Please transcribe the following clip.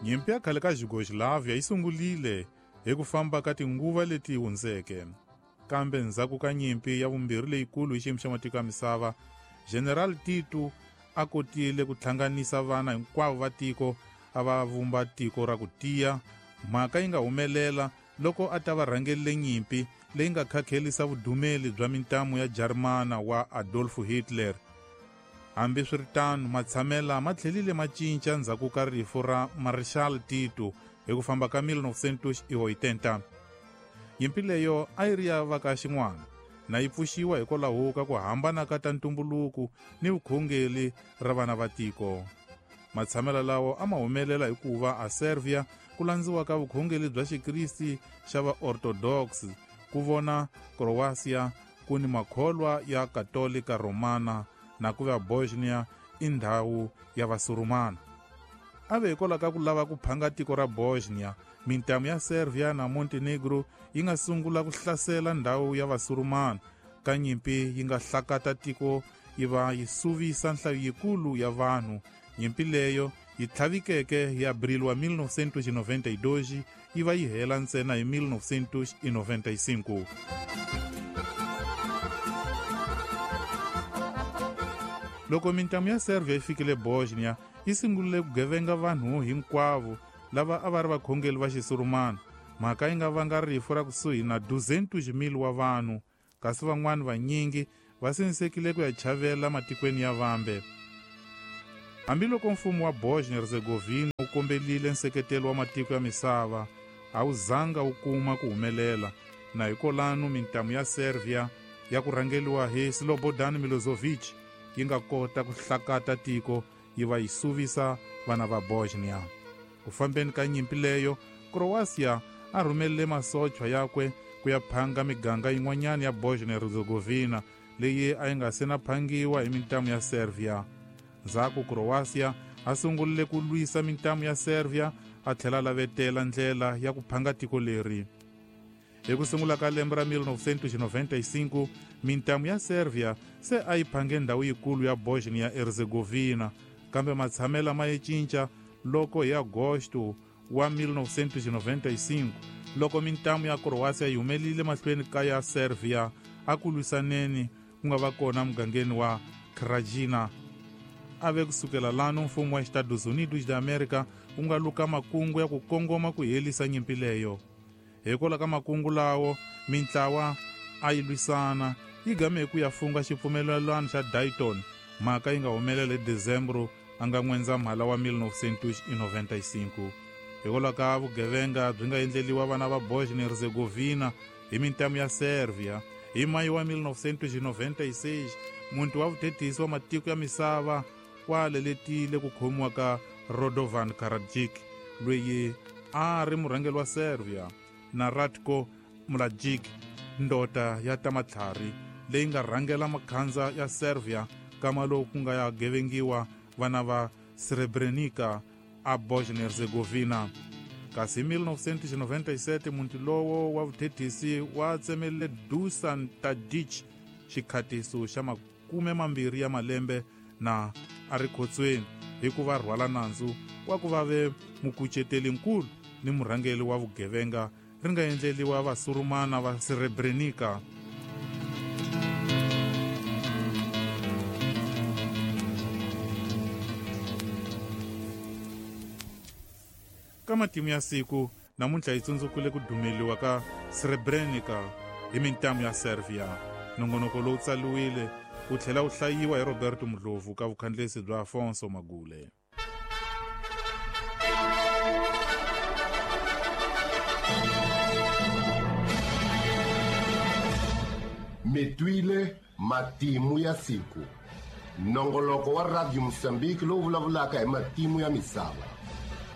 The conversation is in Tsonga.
Nyimpi ya khale ka Yugoslavia yi sungulile hi ku famba ka tinguva leti hundzeke. Kambe ndzhaku ka nyimpi ya vumbirhi leyikulu hi xiyimo xa matiko ya misava, General Tito a kotile ku hlanganisa vana hinkwavo va tiko a va vumba tiko ra ku tiya. Mhaka yi nga humelela loko a ta va rhangelele nyimpi leyi nga khakhelisa vudumeli bya mintamu ya Jarimana wa Adolf Hitler. Hambiswiritano, matshamela ma tlhelile ma cinca ndzhaku ka rifu ra Marshal Tito hi ku famba ka 1980. Nyimpi leyo a yi ri ya va ka xin'wana na yi pfuxiwa hikwalaho ka ku hambana ka ta ntumbuluko ni vukhongeri ra vana va tiko. Matshamela lawo a ma humelela hikuva a Serbia ku landziwa ka vukhongeri bya Xikristi xa va-Orthodox, ku vona Croatia ku ni makholwa ya Katolika Romana na ku va Bosnia i ndhawu ya Vasurumana. A ve hikwalaho ka ku lava ku phanga tiko ra Bosnia, mintamu ya Serbia na Montenegro yi nga sungula ku hlasela ndhawu ya Vasurumana. Ka nyimpi yi nga hlakata tiko yi va yi suvisa nhlayo yikulu ya vanhu. Nyimpi leyo yi tlhavikeke hi Abril wa 1992 yi va yi hela ntsena hi 1995. Loko mintamu ya Serbia yi fikile Bosnia, yi sungulile ku gevenga vanhu hinkwavo lava a va ri vakhongeri va Xisurumana. Mhaka yi nga vanga rifu ra kusuhi na 200,000 wa vanhu, kasi van'wana vanyingi va sindzisekile ku ya chavela matikweni ya vambe. Hambiloko mfumo wa Bosnia-Herzegovina wu kombelile nseketelo wa matiko ya misava, a wu zanga wu kuma ku humelela, na hikolano mintamu ya Serbia ya ku rhangeliwa hi Slobodan Milosevic yi nga kota ku hlakata tiko yi va yi suvisa vana va Bosnia. Ku fambeni ka nyimpi leyo, Croatia a rhumelele masochwa yakwe ku ya phanga miganga yin'wanyana ya Bosnia-Herzegovina leyi a yi nga se na phangiwa hi mintamu ya Serbia. Ndzhaku Croatia a sungulile ku lwisa mintamu ya Serbia a tlhela a lavetela ndlela ya ku phanga tiko leri. Hi ku sungula ka lembe ra 1995, mintamu ya Serbia se a yi phange ndhawu yikulu ya Bosnia-Herzegovina, kambe matshamela ma yi cinca loko hi Agosto wa 1995 loko mintamu ya Croatia yi humelile mahlweni ka ya Serbia a ku lwisaneni ku nga va kona mugangeni wa Krajina. A ve kusukela lano mfumo wa Estados Unidos da America wu nga luka makungu ya ku kongoma ku helisa nyimpi leyo. Hikwalaho ka makungu lawo, mintlawa a yi lwisana yi game hi ku ya funga xipfumelelano xa Dayton, mhaka yi nga humelela hi Dezembro a nga N'wendzamhala wa 1995. Hikwalaho ka vugevenga byi nga endleliwa vana va Bosnia-Herzegovina hi mintamu ya Serbia, hi Mayi wa 1996 muti wa vuthethisi wa matiko ya misava wa leletile ku khomiwa ka Radovan Karadzic, loyi a ri murhangeri wa Serbia, na Ratko Mladic, ndota ya ta matlhari leyi nga rhangela makhandza ya Serbia kama lowu ku nga ya gevengiwa vana va Srebrenica a Bosnia-Herzegovina. Kasi hi 1997 muti lowo wa vuthethisi wa tsemelele Dusan Tadic xikhatiso xa 20 ya malembe na a ri khotsweni hi ku va rhwala nandzu wa ku va ve mukuceteli-nkulu ni murhangeri wa vugevenga ri nga endleliwa vasurumana va Srebrenica. Ka matimu ya siku namuntlha yi tsundzukile ku dumeliwa ka Srebrenica hi mintamu ya Serbia. Nongonoko lowu tsaliwile wu tlhela wu hlayiwa hi Roberto Mudlovu ka vukhandlesi bya Afonso Magule. Mi twile matimu ya siku, nongoloko wa Radio Mozambique lowu vulavulaka hi matimu ya misava.